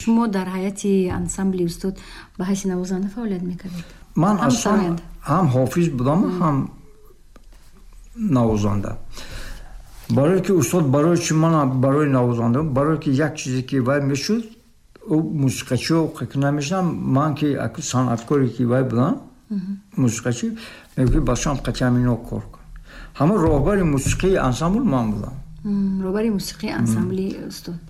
Шумо дар ҳайати ансамбли устод ба ҳайси навозанда фаъолият мекардед? Ман аслан ҳам ҳофиз будам, ҳам навозанда. Барое ки устод, барои чи ман барои навозанда, барое ки як чизе ки вай мешуд, ӯ мусиқачио ки намешудам, ман ки санъаткоре ки вай будам, мусиқачӣ, мегуфт бачаам қатъиан ино кор кун. Ҳамон роҳбари мусиқии ансамбл ман будам. Роҳбари мусиқии ансамбли устод.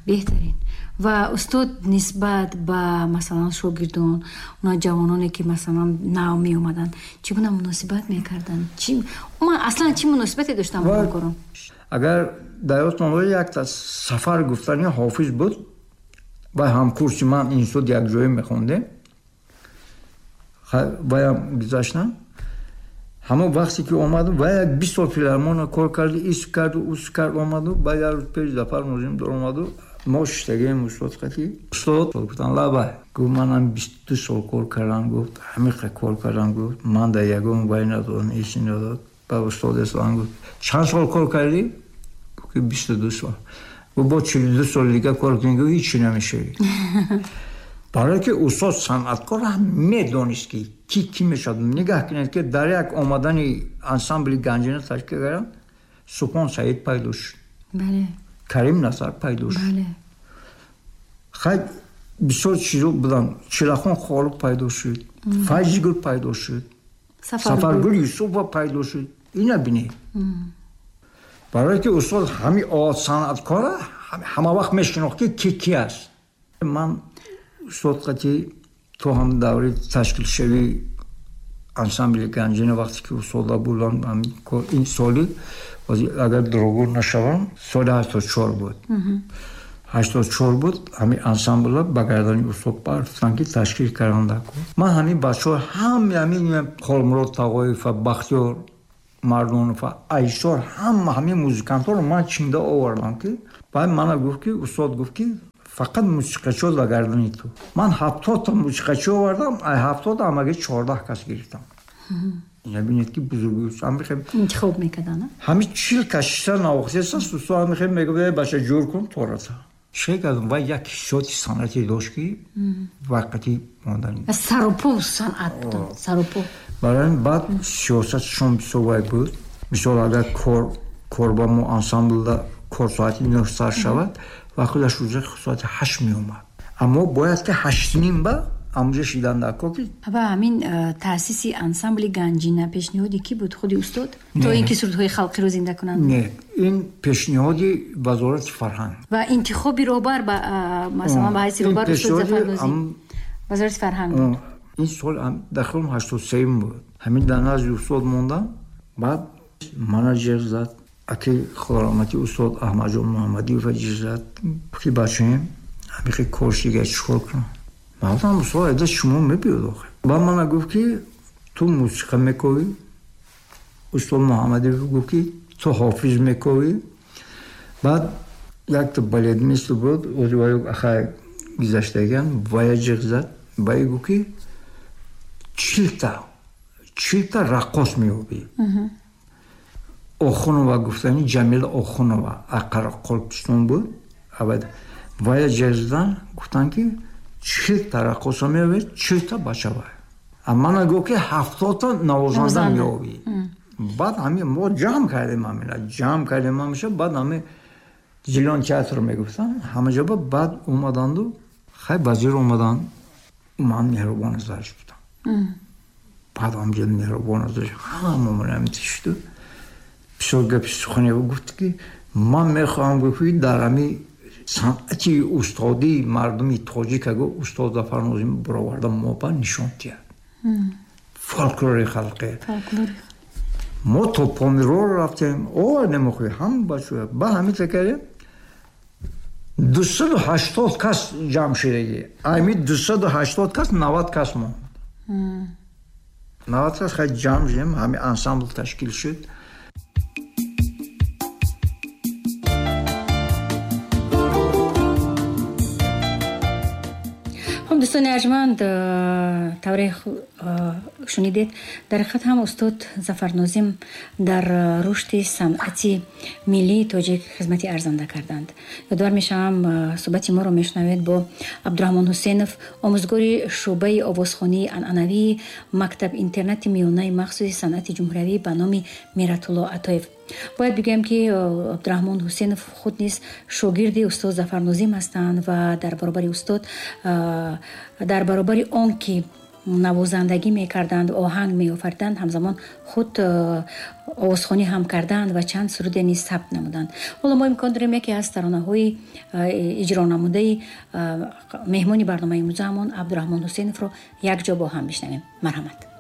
Беҳтарин. Ва устод нисбат ба масалан шогирдон, она ҷавононе ки масалан нав меомаданд, чӣ гуна муносибат мекарданд? Аслан чӣ муносибате доштанд бо ҳамкорон? Агар дар ёдтон бошад, якта сафар гуфтани ҳофиз буд ва ҳамкурси ман институт якҷоя мехондем, ваям гузаштам. Ҳамон вақте ки омадам, ва як 20 сол филармония кор карду, ис карду, ус кард, омаду, ба як рӯз пеш Зафар Нозим даромаду, мо шиштагием устод қатӣ. Устод гуфтан лабай, гуфт манам 22 сол кор кардам, гуфт ҳамиқа кор кардам, гуфт ман дар ягон вай надодам, ҳечи надод. Ба устод Ислом гуфт чанд сол кор кардӣ? Гуфт 22 сол. Гуфт бо 42 сол дига кор кунӣ, гуфт ҳечи намешавӣ. Барое ки устод санъаткор ҳам медонист ки ки кӣ мешавад. Нигаҳ кунед ки дар як омадани ансамбли Ганҷина ташкил кардам, Субҳон Саид пайдо шуд, Карим Назар пайдо шуд, хай бисёр чизо буданд, Чилахон Холиқ пайдо шуд, Файзигул пайдо шуд, Сафаргул Юсупова пайдо шуд. Ина бинед. Барое ки устод ҳами санъаткора ҳама вақт мешинохт ки ки ки аст. Ман устод қатӣ то ҳам даври ташкилшавии ансамбли Ганҷина вақте ки устода будам, ин соли агар дурӯғ нашавам, соли 84 буд. 84 буд, ҳамин ансамбла ба гардани устод барфтан ки ташкил карданда. Ман ҳамин бачаҳо ҳами ҳамин Холмурод Тағоев ва Бахтиёр Мардонов ва Айшор, ҳама ҳамин музикантҳоро ман чинда овардам ки баъд мана гуфт ки устод гуфт ки фақат мусиқачиҳо ба гардани ту. Ман 70 та мусиқачӣ овардам, ай 70 ҳамаги 14 кас гирифтам. Бинед ки бузурги интихоб мекарданд. Ҳамин 40 кас шиша навохтеста, устод ҳамихе мегуфт бача ҷур кун тората. Чӣ кардам? Вай як ҳиссиёти санъатӣ дошт ки вақти мондани. Саропо санъат буд, саропо. Барои ин баъд сиёсатшон бисёр вай буд. Мисол агар кор ба мо ансамблда кор соати 9 сар шавад, ва худаш рӯза соати 8 меомад. Аммо бояд ки 8:30 ба амҷа шидан дар кор ки ва ҳамин таъсиси ансамбли Ганҷина пешниҳоди кӣ буд? Худи устод? То ин ки сурудҳои халқиро зинда кунанд? Не, ин пешниҳоди Вазорати фарҳанг. Ва интихоби роҳбар ба масалан ба ҳайси роҳбар устод Зафар Нозим Вазорати фарҳанг буд. Ин сол дар хелм 83 буд. Ҳамин дар назди устод мондам, баъд мана ҷеғ зад, аки худораҳматӣ устод Аҳмадҷон Муҳаммадиев ҷеғ зад, ки бачаем ҳамихе корш дига чӣ кор кунам? Ман гуфтам устод айда шумо мебиёд охир. Баъд мана гуфт ки ту мусиқа мековӣ, устод Муҳаммадиев гуфт ки ту ҳофиз мековӣ. Баъд якта балетмистр буд, ахай гузаштагиан, вая ҷеғ зад, вая гуфт ки 40 та раққос меёбӣ. Охунова гуфтани Ҷамила Охунова Қараққолпистон буд. Вая ҷеғ задан, гуфтанд ки 40 та раққоса меёбӣ, 40 та бача вай. Мана гуфт ки 70 та навозанда меёбӣ. Баъд ҳамин мо ҷамъ кардем, ҳамина ҷамъ кардем ҳамеша. Баъд ҳамин Зилон театр мегуфтанд ҳама ҷоба. Баъд омаданду хай вазир омаданд, ман Меҳрубон Азарш будам. Баъд ҳамҷо Меҳрубон Азарш ҳама омадам шуду бисёр гапи сухане гуфт ки ман мехоҳам, гуфт ки дар ҳамин санъати устодии мардуми тоҷика, гуфт, устод Зафар Нозим бароварда мо ба нишон диҳад фолклори халқе. Мо то Помиро рафтем, овардем охи ҳама бачаҳо. Ба ҳамин кардем, 280 кас ҷамъ шудагӣ. Ами 280 кас 90 кас монд. 90 кас хай ҷамъ шудем, ҳамин ансамбл ташкил шуд. Хуб, Хуб, дӯстони арҷманд, тавре шунидед, дар ҳақиқат ҳам устод Зафар Нозим дар рушди санъати миллии тоҷик хизмати арзанда карданд. Ёдовар мешавам, суҳбати моро мешунавед бо Абдураҳмон Ҳусейнов, омӯзгори шӯъбаи овозхонии анъанавии мактаб интернати миёнаи махсуси санъати ҷумҳуриявӣ ба номи Миратулло Атоев. Бояд бигӯям, ки Абдураҳмон Ҳусейнов худ низ шогирди устод Зафар Нозим ҳастанд ва дар баробари устод, дар баробари он ки навозандагӣ мекарданд, оҳанг меофариданд, ҳамзамон худ овозхонӣ ҳам карданд ва чанд суруде низ сабт намуданд. Ҳоло мо имкон дорем яке аз таронаҳои иҷро намудаи меҳмони барномаи имрӯзаамон Абдураҳмон Ҳусейновро якҷо бо ҳам бишнавем. Марҳамат.